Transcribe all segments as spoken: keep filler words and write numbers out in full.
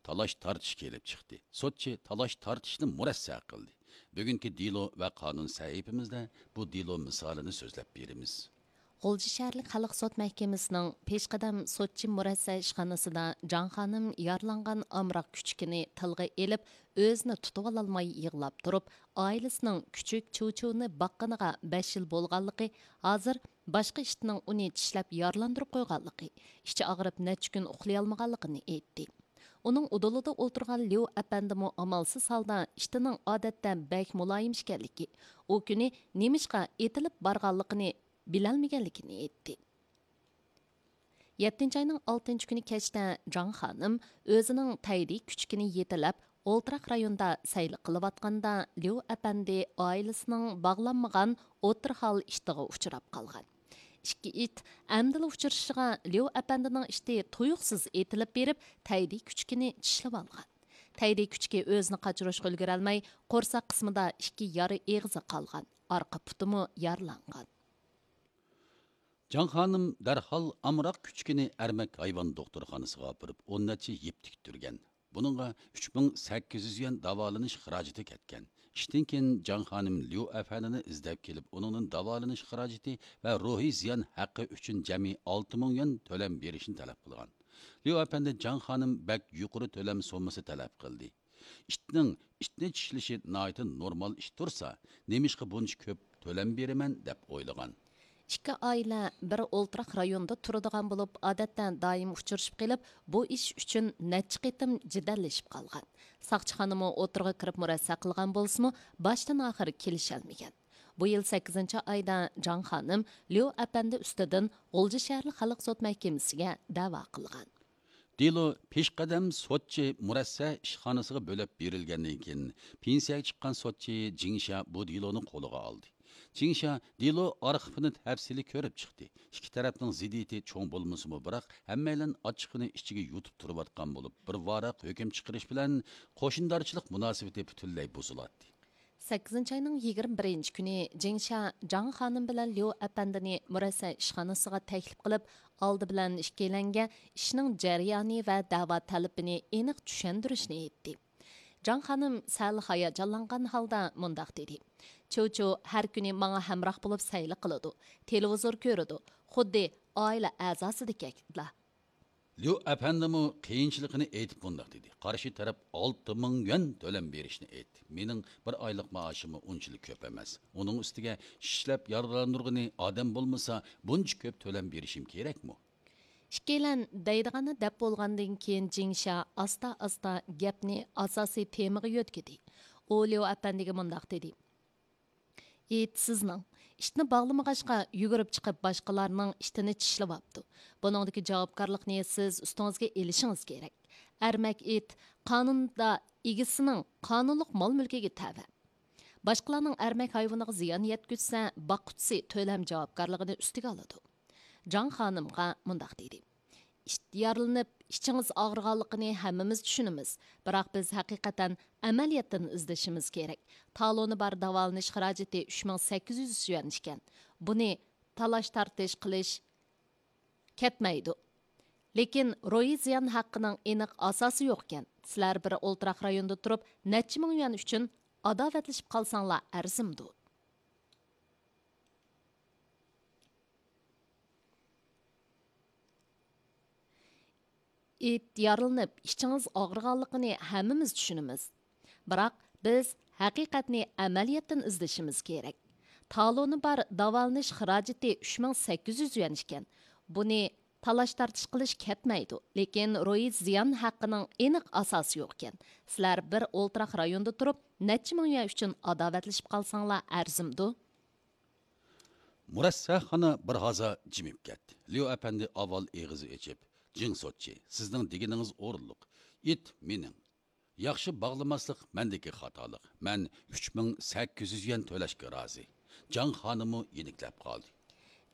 تالاش تارتىش كېلىپ چىقتى. سوتچى تالاش تارتىشنى مۇرەسسە قىلدى. بۈگۈنكى دېلو ۋە قانۇن سەھىپىمىزدە بۇ دېلو مىسالىنى سۆزلەپ بېرىمىز. غۇلجا شەھەرلىك خەلق سوت مەھكىمىسىنىڭ پېشقەدەم سوتچى مۇرەسسە ئىشخانىسىدا جاڭ خانىم يارىلانغان ئامراق كۈچۈكىنى تىلغا ئېلىپ، ئۆزىنى تۇتۇۋالالماي يىغلاپ تۇرۇپ، ئائىلىسىنىڭ كۈچۈك چۇچۇنى باققىنىغا بەش يىل بولغانلىقى، ھازىر باشقا ئىتنىڭ ئۇنى چىشلەپ يارىلاندۇرۇپ قويغانلىقى، ئىچى ئاغرىپ نەچچە كۈن ئۇخلىيالمىغانلىقىنى ئېيتتى. ئۇنىڭ ئۇدۇلىدا ئولتۇرغان ليۇ ئەپەندىمۇ ئامالسىز ھالدا ئىتىنىڭ ئادەتتە بەك مۇلايىم ئىكەنلىكى، ئۇ كۈنى نېمىشقا ئېتىلىپ بارغانلىقىنى بىلەلمىگەنلىكىنى ئېيتتى. يەتتىنچى ئاينىڭ ئالتىنچى كۈنى كەچتە جاڭ خانىم ئۆزىنىڭ تەيدى كۈچۈكىنى يېتىلەپ، ئولتۇراق رايوندا سەيلە قىلىۋاتقاندا، ليۇ ئەپەندى ئائىلىسىنىڭ باغلانمىغان ئوتتۇرا ھال ئىتىغا ئۇچراپ قالغان. ئىككى ئىت ئەمدىلا ئۇچرىشىشىغا، ليۇ ئەپەندىنىڭ ئىتى تۇيۇقسىز ئېتىلىپ بېرىپ، تەيدى كۈچۈكىنى چىشلىۋالغان. تەيدى كۈچۈكى ئۆزىنى قاچۇرۇشقا ئۈلگۈرەلمەي، قورساق قىسمىدا ئىككى يارا ئېغىزى قالغان، ئارقا پۇتىمۇ يارىلانغان. جاڭ خانىم دەرھال ئامراق كۈچۈكىنى ئەرمەك ھايۋان دوختۇرخانىسىغا ئاپىرىپ، ئون نەچچە يىپ تىكتۈرگەن. بۇنىڭغا ئۈچ مىڭ سەككىز يۈز يۈەن داۋالىنىش خىراجىتى كەتكەن. ئىشتىن كېيىن جاڭ خانىم ليۇ ئەپەندىنى ئىزدەپ كېلىپ، ئۇنىڭدىن داۋالىنىش خىراجىتى ۋە روھىي زىيان ھەققى ئۈچۈن جەمئىي ئالتە مىڭ يۈەن تۆلەم بېرىشنى تەلەپ قىلغان. ليۇ ئەپەندى جاڭ خانىم بەك يۇقىرى تۆلەم سوممىسى تەلەپ قىلدى. ئىتنىڭ ئىتنى چىشلىشى ناھايىتى نورمال ئىش تۇرسا، نېمىشقا بۇنچە كۆپ تۆلەم بېرىمەن دەپ ئويلىغان. ئىككى ئائىلە بىر ئولتۇراق رايوندا تۇرىدىغان بولۇپ، ئادەتتە دائىم ئۇچرىشىپ قېلىپ، بۇ ئىش ئۈچۈن نەچچە قېتىم جېدەللىشىپ قالغان. ساقچىخانىمۇ ئوتتۇرىغا كىرىپ مۇرەسسە قىلغان بولسىمۇ، باشتىن ئاخىر كېلىشەلمىگەن. بۇ يىل سەككىزىنچى ئايدا جاڭ خانىم ليۇ ئەپەندى ئۈستىدىن غۇلجا شەھەرلىك خەلق سوت مەھكىمىسىگە دەۋا قىلغان. دېلو پېشقەدەم سوتچى مۇرەسسە ئىشخانىسىغا بۆلەپ بېرىلگەندىن كېيىن، پېنسىيەگە چىققان سوتچى جىڭشيا بۇ دېلونى قولىغا ئالدى. جىڭشيا دېلو ئارخىپىنى تەپسىلىي كۆرۈپ چىقتى. ئىككى تەرەپنىڭ زىددىيىتى چوڭ بولمىسىمۇ، بىراق ھەممەيلەن ئاچچىقىنى ئىچىگە يۇتۇپ تۇرۇۋاتقان بولۇپ، بىر ۋاراق ھۆكۈم چىقىرىش بىلەن قوشنىدارچىلىق مۇناسىۋىتى پۈتۈنلەي بۇزۇلاتتى. سەككىزىنچى ئاينىڭ يىگىرمە بىرىنچى كۈنى جىڭشيا جاڭ خانىم بىلەن ليۇ ئەپەندىنى مۇرەسسە ئىشخانىسىغا تەكلىپ قىلىپ، ئالدى بىلەن ئىككىيلەنگە ئىشنىڭ جەريانى ۋە دەۋا تەلىپىنى ئېنىق چۈشەندۈرۈشنى ئېيتتى. جاڭ خانىم سەل ھاياجانلانغان ھالدا مۇنداق دېدى: «چۇچۇ ھەر كۈنى ماڭا ھەمراھ بولۇپ سەيلە قىلىدۇ، تېلېۋىزور كۆرىدۇ، خۇددى ئائىلە ئەزاسىدەكلا.» ليۇ ئەپەندىمۇ قىيىنچىلىقىنى ئېيتىپ مۇنداق دېدى: «قارشى تەرەپ ئالتە مىڭ يۈەن تۆلەم بېرىشنى ئېيتتى. مېنىڭ بىر ئايلىق مائاشىممۇ ئۇنچىلىك كۆپ ئەمەس. ئۇنىڭ ئۈستىگە ئىشلەپ يارىلاندۇرغىنى ئادەم بولمىسا، بۇنچە كۆپ تۆلەم بېرىشىم كېرەكمۇ؟» ئىككىيلەن دەيدىغاننى دەپ بولغاندىن كېيىن، جىڭشيا ئاستا-ئاستا گەپنى ئاساسىي تېمىغا يۆتكىدى. ئۇ ليۇ ئەپەندىگە مۇنداق دېدى: «ئىت سىزنىڭ. ئىتنى باغلىمىغاچقا، يۈگۈرۈپ چىقىپ باشقىلارنىڭ ئىتىنى چىشلىۋاپتۇ. بۇنىڭدىكى جاۋابكارلىقنى سىز ئۈستىڭىزگە ئېلىشىڭىز كېرەك. ئەرمەك ئىت قانۇندا ئىگىسىنىڭ قانۇنلۇق مال-مۈلكىگە تەۋە. باشقىلارنىڭ ئەرمەك ھايۋىنىغا زىيان يەتكۈزسە، باققۇچىسى تۆلەم جاۋابكارلىقىنى ئۈستىگە ئالىدۇ.» جاڭ خانىمغا مۇنداق دېدى: «ئىت يارىلىنىپ، ئىچىڭىز ئاغرىغانلىقىنى ھەممىمىز چۈشىنىمىز، بىراق بىز ھەقىقەتەن ئەمەلىيەتتىن ئىزدىشىمىز كېرەك. تالونى بار داۋالىنىش خىراجىتى ئۈچ مىڭ سەككىز يۈز يۈەن ئىكەن. بۇنى تالاش-تارتىش قىلىش كەتمەيدۇ. لېكىن روھىي زىيان ھەققىنىڭ ئېنىق ئاساسى يوقكەن. سىلەر بىر ئولتۇراق رايوندا تۇرۇپ، نەچچە مىڭ يۈەن ئۈچۈن ئاداۋەتلىشىپ قالساڭلار ئەرزىمدۇ؟» ئىت يارىلىنىپ، ئىچىڭىز ئاغرىغانلىقىنى ھەممىمىز چۈشىنىمىز. بىراق بىز ھەقىقەتنى ئەمەلىيەتتىن ئىزدىشىمىز كېرەك. تالونى بار داۋالىنىش خىراجىتى ئۈچ مىڭ سەككىز يۈز يۈەن ئىكەن. بۇنى تالاش-تارتىش قىلىش كەتمەيدۇ، لېكىن روھىي زىيان ھەققىنىڭ ئېنىق ئاساسى يوقكەن. سىلەر بىر ئولتۇراق رايوندا تۇرۇپ، نەچچە مىڭ يۈەن ئۈچۈن ئاداۋەتلىشىپ قالساڭلار ئەرزىمدۇ؟ مۇرەسسەخانا بىر ھازا جىمىپ كەتتى. ليۇ ئەپەندى ئاۋۋال ئېغىزى ئېچىپ: «جىڭ سوتچى، سىزنىڭ دېگىنىڭىز ئورۇنلۇق. ئىت مېنىڭ. ياخشى باغلىماسلىق مەندىكى خاتالىق. مەن ئۈچ مىڭ سەككىز يۈز يۈەن تۆلەشكە رازى.» جاڭ خانىممۇ يېنىكلەپ قالدى.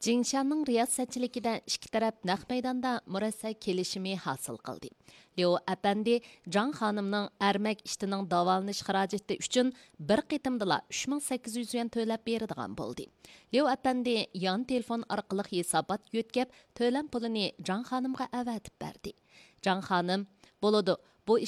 جىڭشيانىڭ رىياسەتچىلىكىدە ئىككى تەرەپ نەق مەيداندا مۇرەسسە كېلىشىمى ھاسىل قىلدى. ليۇ ئەپەندى جاڭ خانىمنىڭ ئەرمەك ئىتىنىڭ داۋالىنىش خىراجىتى ئۈچۈن بىر قېتىمدىلا ئۈچ مىڭ سەككىز يۈز يۈەن تۆلەپ بېرىدىغان بولدى. ليۇ ئەپەندى يان تېلېفون ئارقىلىق ھېسابات يۆتكەپ، تۆلەم پۇلىنى جاڭ خانىمغا ئەۋەتىپ بەردى. جاڭ خانىم: «بولىدۇ،